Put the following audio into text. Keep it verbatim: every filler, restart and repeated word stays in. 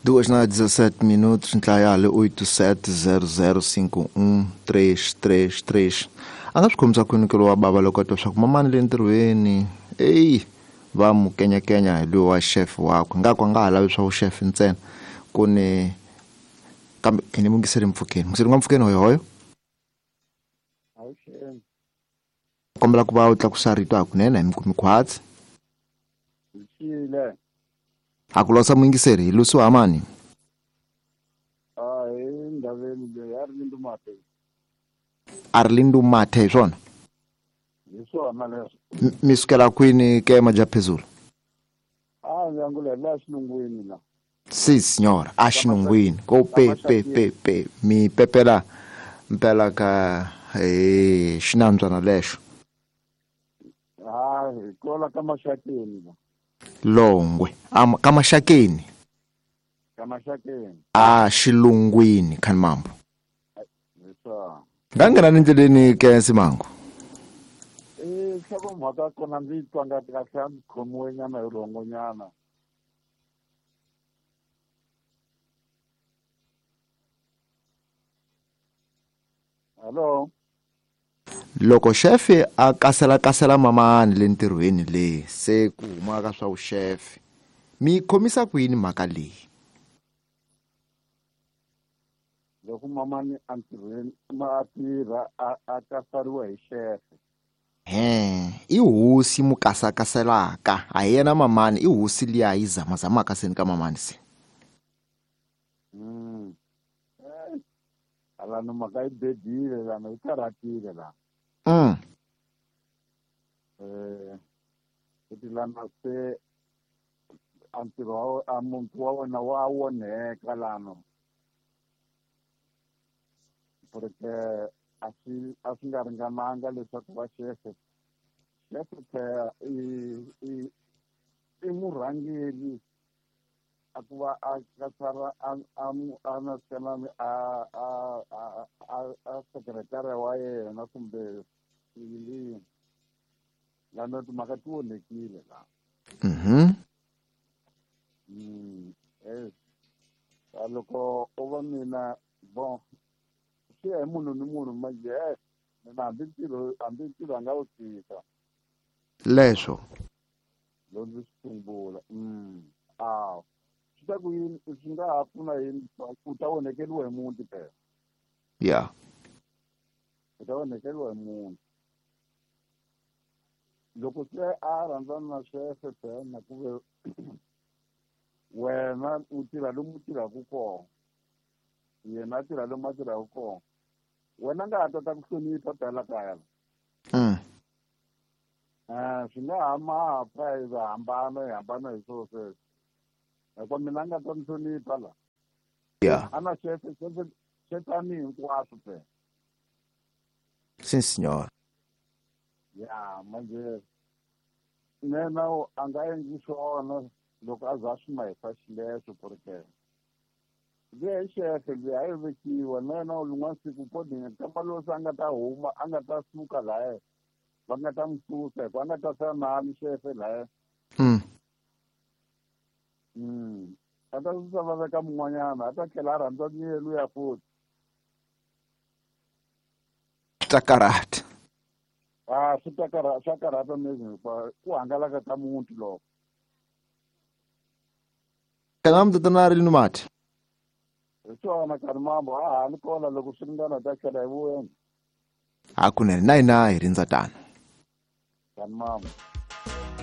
Duas na dezassete minutos, ntlayale oito sete zero zero cinco um três três três. A nga swi khomisa kwini ke lowa bava loko a twa swa ku mamani le ntirhweni eyi va mu kenyakenya hi loyi wa chef wakwe nga ku a nga ha lavi swa vuxefe ntsena ku ni kambe hi ni mungiseri mpfukeni mungiseri nga mpfukeni hoyohoyo kombela ku va u tlakusa rito hakunene hi mikumi khwatsi a ku losa muyingiseri hi lusiwa mani Arlindo Mathe hi swona hi swona leswo mi sukela kwini ke majaphezulu a ndzi la xilungwini la si signora a xilungwini ko pe pe pe pe mi pepela mpela ka eh xinambyana lexo ha hi kola ka maxakeni la Longwe am ka maxakeni ka maxakeni a xilungwini khani mambo nga nghena ni ndleleni ke Simango eh hloko mhaka kona ndzi twa nga kahle a ndzi khomiwe nyana hi rhongonyana hello loko xefe a kasela kasela mamani le ntirhweni le se ku huma ka swa vuxefe mi khomisa ku yini mhaka leyi loko mamani a ntirhweni ma tirha a kasariwa hi xefe he i hosi mu kasakaselaka a hi yena mamani i hosi liya yi zamazamaka seni ka mamani se mm alano mhaka yi bedile lana yi karhatile la mm eh kuti lana se a ntirho a muntu wa wena wa onheka lano porque a swi a swi nga ringananga leswaku va xefe xefe phela i i i murhangeri a ku va a kasara a a a na a a a a sekretari wa yena kumbe yini lana timhaka ti onhekile la mhm mm eh loko u va mina bon swi ya hi munhu ni munhu manje eh mina hambi ntirho hambi ntirho a nga wu tshika leswo loko ndzi swi sungula mm a swi ta ku yini swi nga ha pfuna yini u ta onhekeriwa hi muti phela ya u ta onhekeriwa hi muti loko se a rhandzana na xefe phela na ku ve wena u tirha lomu u tirhaka kona yena a tirha lomu a tirhaka kona wena nga ha tata ku hlonipha phela kaya mm eh swi nga ha ma ha pfa hi hambana hi hambana hi swona sweswo hikuva mina a nga ta ni hlonipha la ya a na xefe xefe xefani hinkwaswo phela si signora ya manje nena a nga endli swona loko a za swi mahisa xileswo porque luya hi xefe luya a yi vekiwa na yena lin'wana siku kodini kamba loyi se a nga ta huma a nga ta suka laya va nga ta n'wi susa hikuva a nga ta sala nani xefe laya mm mm a ta susa va veka mun'wanyana a ta tlhela a rhandza niye luya futhi swi ta karhata a swi ta karhata swa karhata mezi hikuva ku hangalaka ka muti loko kana mtatana ri numati hi swona karhi mambo a ha ni kona loko swi ringana ta tlhela hi vuya hakunene na hina hi rindza tano karhi mambo.